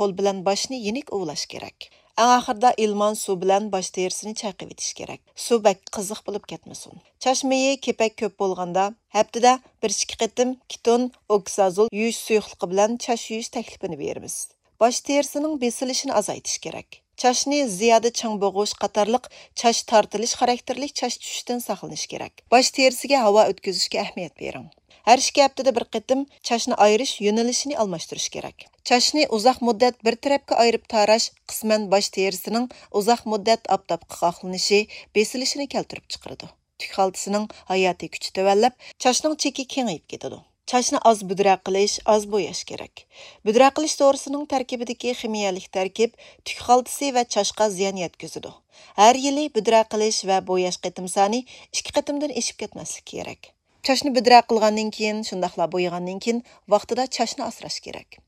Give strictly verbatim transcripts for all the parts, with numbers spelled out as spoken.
قول بىلەن باشنى يېنىك ئۇۋىلاش كېرەك. ئەڭ ئاخىرىدا ئىلمان سۇ بىلەن باش تېرىسىنى چايقىۋېتىش كېرەك. سۇ بەك قىزىق بولۇپ كەتمىسۇن. چاچ مېيى كېپەك كۆپ بولغاندا، ھەپتىدە بىر ئىككى قېتىم كېتون ئوكسازول يۇيۇش سۇيۇقلۇقى بىلەن چاچ يۇيۇش تەكلىپىنى بېرىمىز. باش تېرىسىنىڭ بېسىلىشىنى ئازايتىش كېرەك. چاچنى زىيادە چىڭ بوغۇش قاتارلىق چاچ تارتىلىش خاراكتېرلىك چاچ چۈشۈشتىن ساقلىنىش كېرەك. باش تېرىسىگە ھاۋا ئۆتكۈزۈشكە ئەھمىيەت بېرىڭ. ھەر ئىككى ھەپتىدە بىر قېتىم چاچنى ئايرىش يۆنىلىشىنى ئالماشتۇرۇش كېرەك. چاچنى ئۇزاق مۇددەت بىر تەرەپكە ئايرىپ تاراش قىسمەن باش تېرىسىنىڭ ئۇزاق مۇددەت ئاپتاپقا قاقلىنىشى، بېسىلىشىنى كەلتۈرۈپ چىقىرىدۇ. تۈك خالتىسىنىڭ ھاياتىي كۈچى تۆۋەنلەپ، چاچنىڭ چېكى كېڭىيىپ كېتىدۇ. چاچنى ئاز بۈدرە قىلىش، ئاز بوياش كېرەك. بۈدرە قىلىش دورىسىنىڭ تەركىبىدىكى خىمىيەلىك تەركىب تۈك خالتىسى ۋە چاچقا زىيان يەتكۈزىدۇ. ھەر يىلى بۈدرە قىلىش ۋە بوياش قېتىم سانى ئىككى قېتىمدىن ئېشىپ كەتمەسلىكى كېرەك. چاچنى بۈدرە قىلغاندىن كېيىن، شۇنداقلا بويىغاندىن كېيىن ۋاقتىدا چاچنى ئاسراش كېرەك.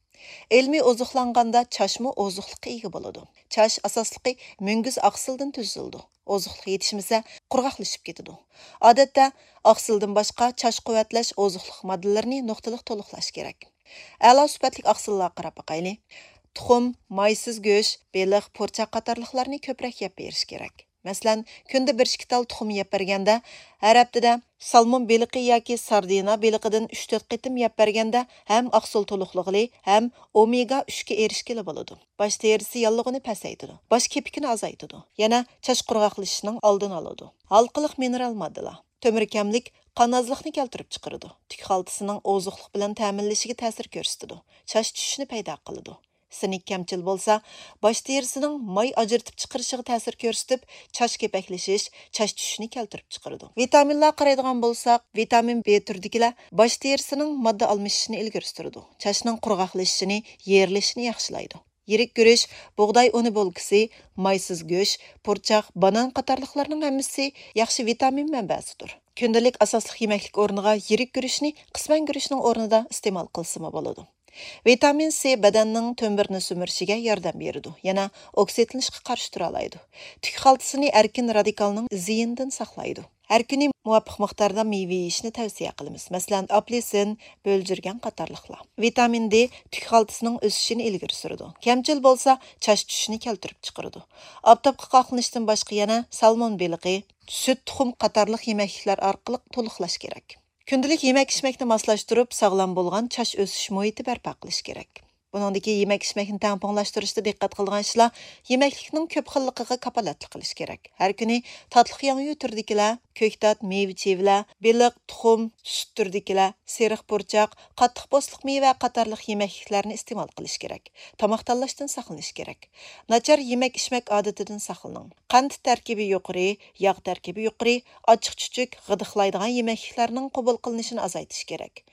ئىلمىي ئوزۇقلانغاندا چاچمۇ ئوزۇقلۇققا ئىگە بولىدۇ. چاچ ئاساسلىقى مۈڭگۈز ئاقسىلدىن تۈزۈلىدۇ. ئوزۇقلۇق يېتىشمىسە، قۇرغاقلىشىپ كېتىدۇ. ئادەتتە ئاقسىلدىن باشقا چاچ قۇۋۋەتلەش ئوزۇقلۇق ماددىلىرىنى نۇقتىلىق تولۇقلاش كېرەك. ئەلا سۈپەتلىك ئاقسىللارغا قاراپ باقايلى. تۇخۇم، مايسىز گۆش، بېلىق، پۇرچاق قاتارلىقلارنى كۆپرەك يەپ بېرىش كېرەك. مەسىلەن، كۈندە بىر ئىككى تال تۇخۇم يەپ بەرگەندە، ھەر ھەپتىدە سالمون بېلىقى ياكى ساردىنا بېلىقىدىن ئۈچ تۆت قېتىم يەپ بەرگەندە ھەم ئاقسىل تولۇقلىغىلى، ھەم ئومېگا ئۈچكە ئېرىشكىلى بولىدۇ. باش تېرىسى ياللۇغىنى پەسەيتىدۇ. باش كېپىكىنى ئازايتىدۇ. يەنە چاچ قۇرغاقلىشىشنىڭ ئالدىنى ئالىدۇ. ھالقىلىق مىنېرال ماددىلار. تۆمۈر كەملىك قان ئازلىقنى كەلتۈرۈپ چىقىرىدۇ. تۈك خالتىسىنىڭ ئوزۇقلۇق بىلەن تەمىنلىشىگە تەسىر كۆرسىتىدۇ. چاچ چۈشۈشنى پەيدا قىلىدۇ. سىنك كەمچىل بولسا، باش تېرىسىنىڭ ماي ئاجرىتىپ چىقىرىشىغا تەسىر كۆرسىتىپ، چاچ كېپەكلىشىش، چاچ چۈشۈشنى كەلتۈرۈپ چىقىرىدۇ. ۋىتامىنلارغا قارايدىغان بولساق، ۋىتامىن بى تۈرىدىكىلەر باش تېرىسىنىڭ ماددا ئالمىشىشىنى ئىلگىرى سۈرىدۇ، چاچنىڭ قۇرغاقلىشىشىنى، يېرىلىشىنى ياخشىلايدۇ. يىرىك گۈرۈچ، بۇغداي ئۇنى بولكىسى، مايسىز گۆش، پۇرچاق، بانان قاتارلىقلارنىڭ ھەممىسى ياخشى ۋىتامىن مەنبەسىدۇر. كۈندىلىك ئاساسلىق يېمەكلىك ئورنىغا يىرىك گۈرۈچنى قىسمەن گۈرۈچنىڭ ئورنىدا ئىستېمال قىلسىمۇ بولىدۇ. ۋىتامىن سى بەدەننىڭ تۆمۈرنى سۈمۈرۈشىگە ياردەم بېرىدۇ، يەنە ئوكسىدلىنىشقا قارشى تۇرالايدۇ. تۈك خالتىسىنى ئەركىن رادىكالنىڭ زىيىنىدىن ساقلايدۇ. ھەر كۈنى مۇۋاپىق مىقداردا مېۋە يېيىشنى تەۋسىيە قىلىمىز، مەسىلەن، ئاپېلسىن، بۆلجۈرگەن قاتارلىقلار. ۋىتامىن دې تۈك خالتىسىنىڭ ئۆسۈشىنى ئىلگىرى سۈرىدۇ، كەمچىل بولسا چاچ چۈشۈشنى كەلتۈرۈپ چىقىرىدۇ. ئاپتاپقا قاقلىنىشتىن باشقا يەنە سالمون بېلىقى، سۈت، تۇخۇم قاتارلىق يېمەكلىكلەر ئارقىلىق تولۇقلاش كېرەك. كۈندىلىك يېمەك-ئىچمەكنى ماسلاشتۇرۇپ، ساغلام بولغان چاچ ئۆسۈش مۇھىتى بەرپا قىلىش كېرەك. بۇنىڭدىكى يېمەك-ئىچمەكنى تەڭپۇڭلاشتۇرۇشتا دىققەت قىلىدىغان ئىشلار يېمەكلىكنىڭ كۆپ خىللىقىغا كاپالەتلىك قىلىش كېرەك. ھەر كۈنى تاتلىق ياڭيۇ تۈرىدىكىلەر، كۆكتات، مېۋە-چىۋىلەر، بېلىق، تۇخۇم، سۈت تۈرىدىكىلەر، سېرىق پۇرچاق، قاتتىق پوستلۇق مېۋە قاتارلىق يېمەكلىكلەرنى ئىستېمال قىلىش كېرەك. تاماق تاللاشتىن ساقلىنىش كېرەك. ناچار يېمەك-ئىچمەك ئادىتىدىن ساقلىنىڭ. قەنت تەركىبى يۇقىرى، ياغ تەركىبى يۇقىرى، ئاچچىق-چۈچۈك، غىدىقلايدىغان يېمەكلىكلەرنىڭ قوبۇل قىلىنىشىنى ئازايتىش كېرەك.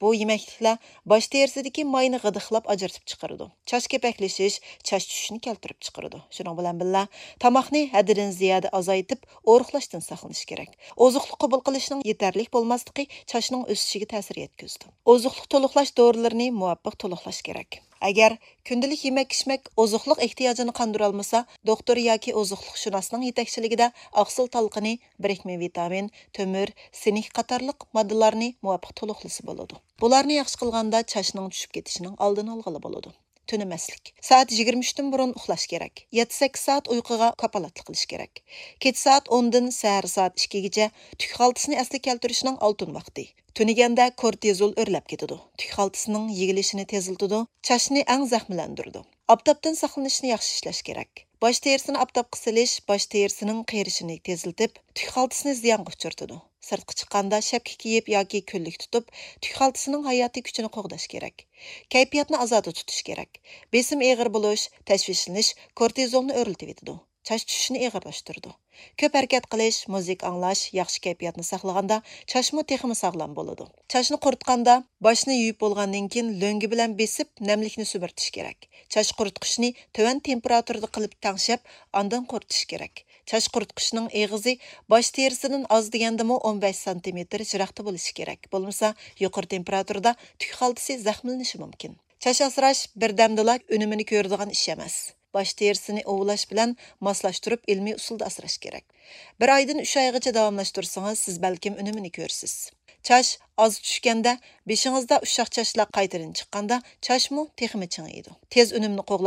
بۇ يېمەكلىكلەر باش تېرىسىدىكى ماينى غىدىقلاپ ئاجرىتىپ چىقىرىدۇ. چاچ كېپەكلىشىش، چاچ چۈشۈشنى كەلتۈرۈپ چىقىرىدۇ. شۇنىڭ بىلەن بىللە، تاماقنى ھەددىدىن زىيادە ئازايتىپ، ئورۇقلاشتىن ساقلىنىش كېرەك. ئوزۇقلۇق قوبۇل قىلىشنىڭ يېتەرلىك بولماسلىقى چاچنىڭ ئۆسۈشىگە تەسىر يەتكۈزىدۇ. ئوزۇقلۇق تولۇقلاش دورىلىرىنى مۇۋاپىق تولۇقلاش كېرەك. ئەگەر كۈندىلىك يېمەك-ئىچمەك ئوزۇقلۇق ئېھتىياجىنى قاندۇرالمىسا، دوختۇر ياكى ئوزۇقلۇقشۇناسنىڭ يېتەكچىلىكىدە ئاقسىل تالقىنى، بىرىكمە ۋىتامىن، تۆمۈر، سىنك قاتارلىق ماددىلارنى مۇۋاپىق تولۇقلىسا بولىدۇ. بۇلارنى ياخشى قىلغاندا چاچنىڭ چۈشۈپ كېتىشىنىڭ ئالدىنى ئالغىلى بولىدۇ. تۈنىمەسلىك. سائەت يىگىرمە ئۈچتىن بۇرۇن ئۇخلاش كېرەك. يەتتە سەككىز سائەت ئۇيقۇغا كاپالەتلىك قىلىش كېرەك. كېچە سائەت ئوندىن سەھەر سائەت ئىككىگىچە تۈك خالتىسىنى ئەسلىگە كەلتۈرۈشنىڭ ئالتۇن ۋاقتى. تۈنىگەندە كورتىزول ئۆرلەپ كېتىدۇ. تۈك خالتىسىنىڭ يېگىلىشىنى تېزلىتىدۇ، چاچنى ئەڭ زەخىملەندۈرىدۇ. ئاپتاپتىن ساقلىنىشنى ياخشى ئىشلەش كېرەك. باش تېرىسىنى ئاپتاپقا سېلىش باش تېرىسىنىڭ قېرىشىنى تېزلىتىپ، تۈك خالتىسىنى زىيانغا ئۇچرىتىدۇ. سىرتقا چىققاندا شەپكە كىيىپ ياكى كۈنلۈك تۇتۇپ، تۈك خالتىسىنىڭ ھاياتىي كۈچىنى قوغداش كېرەك. كەيپىياتنى ئازادە تۇتۇش كېرەك. بېسىم ئېغىر بولۇش، تەشۋىشلىنىش كورتىزولنى ئۆرلىتىۋېتىدۇ. چاچ چۈشۈشنى ئېغىرلاشتۇرىدۇ. كۆپ ھەرىكەت قىلىش، مۇزىكا ئاڭلاش ياخشى كەيپىياتنى ساقلىغاندا، چاچمۇ تېخىمۇ ساغلام بولىدۇ. چاچنى قۇرۇتقاندا، باشنى يۇيۇپ بولغاندىن كېيىن لۆڭگە بىلەن بېسىپ، نەملىكنى سۈمۈرتۈش كېرەك. چاچ قۇرۇتقۇچنى تۆۋەن تېمپېراتۇرىدا قىلىپ تەڭشەپ، ئاندىن قۇرۇتۇش كېرەك. چاچ قۇرۇتقۇچنىڭ ئېغىزى باش تېرىسىدىن ئاز دېگەندىمۇ ئون بەش سانتىمېتىر يىراقتا بولۇشى كېرەك، بولمىسا يۇقىرى تېمپېراتۇرىدا تۈك خالتىسى زەخىملىنىشى مۇمكىن. چاچ ئاسراش بىردەمدىلا ئۈنۈمىنى كۆرىدىغان ئىش ئەمەس. باش تېرىسىنى ئۇۋۇلاش بىلەن ماسلاشتۇرۇپ ئىلمىي ئۇسۇلدا ئاسراش كېرەك. بىر ئايدىن ئۈچ ئايغىچە داۋاملاشتۇرسىڭىز، سىز بەلكىم ئۈنۈمىنى كۆرىسىز. چاچ ئاز چۈشكەندە، بېشىڭىزدا ئۇششاق چاچلار قايتىدىن چىققاندا، چاچمۇ تېخىمۇ چىڭىيدۇ. تېز ئۈنۈمنى قوغلاش